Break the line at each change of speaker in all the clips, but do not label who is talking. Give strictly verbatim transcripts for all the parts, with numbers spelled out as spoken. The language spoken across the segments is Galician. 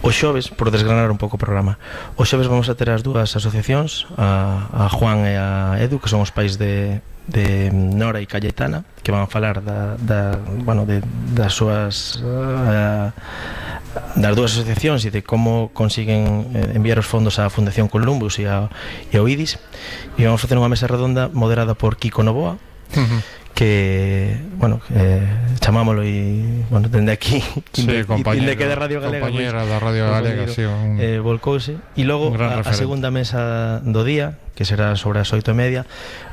O xoves, por desgranar un pouco o programa, o xoves vamos a ter as dúas asociacións, a, a Juan e a Edu, que son os pais de, de Nora e Cayetana, que van a falar da, da, bueno, de, das súas uh, das dúas asociacións e de como consiguen eh, enviar os fondos á Fundación Columbus e, a, e ao I D I S, e vamos a facer unha mesa redonda moderada por Kiko Novoa, uh-huh. que, bueno, eh, chamámolo e, bueno, dende aquí
sí,
e
dende
que de Radio Galega
compañera da Radio Galega, sí, un,
eh, volcouse, e logo a, a segunda mesa do día, que será sobre as oito e media,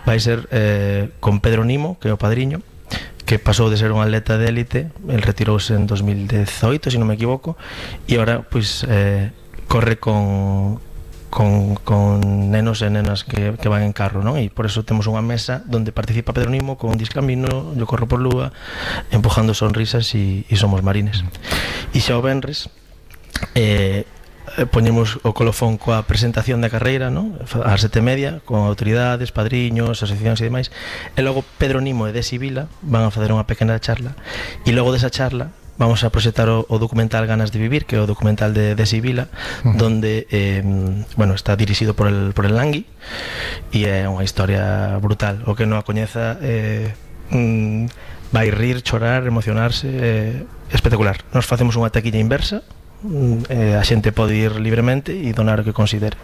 vai ser eh, con Pedro Nimo, que é o padriño, que pasou de ser un atleta de élite, el retirouse en dos mil dezoito, se non me equivoco, e agora, pois, eh, corre con Con, con nenos e nenas que, que van en carro, non? E por eso temos unha mesa donde participa Pedro Nimo con Discamino, Yo Corro por Lúa, Empujando Sonrisas e, e Somos Marines. E xa o venres eh, poñemos o colofón coa presentación da carreira, non? Ás sete e media, con autoridades, padriños, asociacións e demais, e logo Pedro Nimo e Desi Vila van a facer unha pequena charla, e logo desa charla vamos a proxectar o, o documental Ganas de Vivir, que é o documental de Desi Vila, uh-huh. donde eh, bueno, está dirixido por el, por el Langui, e é unha historia brutal. O que non a coñeza eh, mm, vai rir, chorar, emocionarse, eh, espectacular. Nos facemos unha taquilla inversa, eh, a xente pode ir libremente e donar o que considere,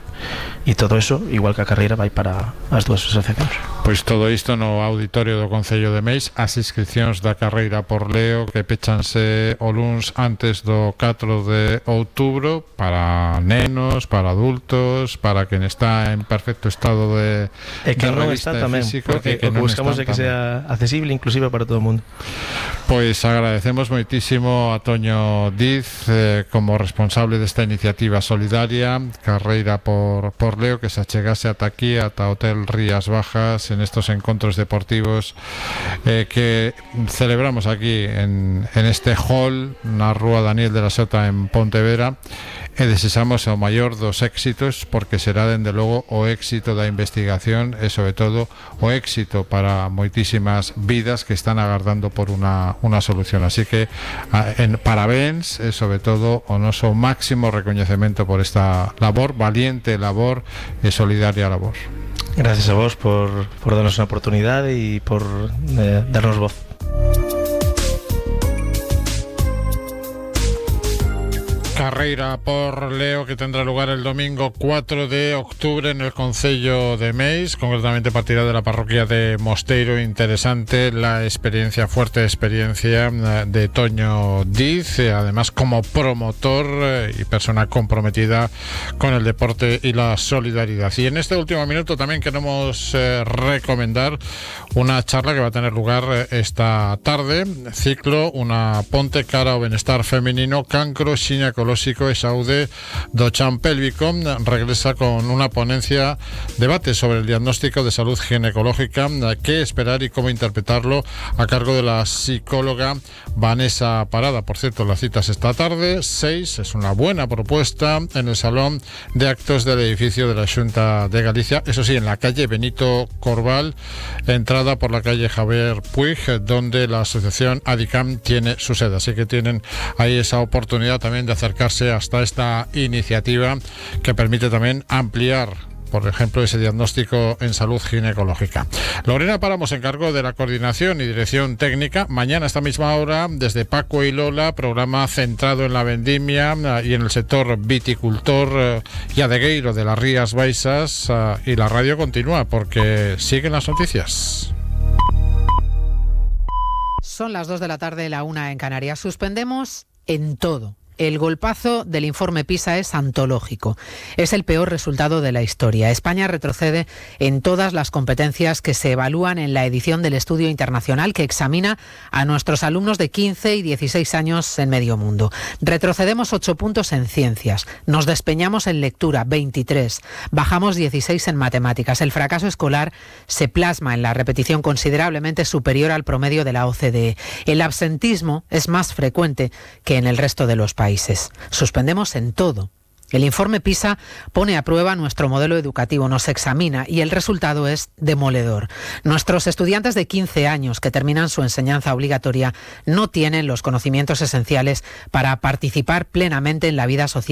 e todo eso, igual que a carreira, vai para as dúas asociacións.
Pois todo isto no auditorio do Concello de Meis. As inscripcións da carreira por Leo, que pechanse o luns antes do catro de outubro, para nenos, para adultos, para quen está en perfecto estado de,
e que
de
non está tamén,
físico,
porque que o que buscamos é que sea accesible inclusive para todo o mundo.
Pois agradecemos moitísimo a Toño Diz, eh, como responsable desta iniciativa solidaria Carreira por, por Leo, que se achegase ata aquí, ata Hotel Rías Bajas, en estos encontros deportivos eh, que celebramos aquí en, en este hall na Rúa Daniel de la Sota en Pontevedra, e desexamos o maior dos éxitos, porque será dende logo o éxito da investigación e sobre todo o éxito para moitísimas vidas que están agardando por unha, unha solución. Así que a, en parabéns e sobre todo o noso máximo recoñecemento por esta labor, valiente labor e solidaria labor.
Gracias a vos por, por darnos unha oportunidade e por eh, darnos voz.
Carreira por Leo, que tendrá lugar el domingo cuatro de octubre en el Concello de Meis, concretamente partirá de la parroquia de Mosteiro. Interesante la experiencia, fuerte experiencia de Toño Diz, además como promotor y persona comprometida con el deporte y la solidaridad. Y en este último minuto también queremos eh, recomendar una charla que va a tener lugar esta tarde, ciclo Una ponte cara ao benestar femenino, cancro, xinecolóxico e saúde do chan pélvico. Regresa con una ponencia, debate sobre el diagnóstico de salud ginecológica, qué esperar y cómo interpretarlo, a cargo de la psicóloga Vanessa Parada. Por cierto, la cita es esta tarde, seis, es una buena propuesta, en el salón de actos del edificio de la Xunta de Galicia, eso sí, en la calle Benito Corval, entrada por la calle Javier Puig, donde la asociación ADICAM tiene su sede. Así que tienen ahí esa oportunidad también de acercarse hasta esta iniciativa que permite también ampliar, por ejemplo, ese diagnóstico en salud ginecológica. Lorena Páramo se encargó de la coordinación y dirección técnica. Mañana a esta misma hora, desde Paco y Lola, programa centrado en la vendimia y en el sector viticultor y adegueiro de las Rías Baixas, y la radio continúa porque siguen las noticias.
Son las dos de la tarde, la una en Canarias. Suspendemos en todo. El golpazo del informe PISA es antológico. Es el peor resultado de la historia. España retrocede en todas las competencias que se evalúan en la edición del estudio internacional que examina a nuestros alumnos de quince y dieciséis años en medio mundo. Retrocedemos ocho puntos en ciencias. Nos despeñamos en lectura, veintitrés. Bajamos dieciséis en matemáticas. El fracaso escolar se plasma en la repetición considerablemente superior al promedio de la O C D E. El absentismo es más frecuente que en el resto de los países. países. Suspendemos en todo. El informe PISA pone a prueba nuestro modelo educativo, nos examina y el resultado es demoledor. Nuestros estudiantes de quince años que terminan su enseñanza obligatoria no tienen los conocimientos esenciales para participar plenamente en la vida social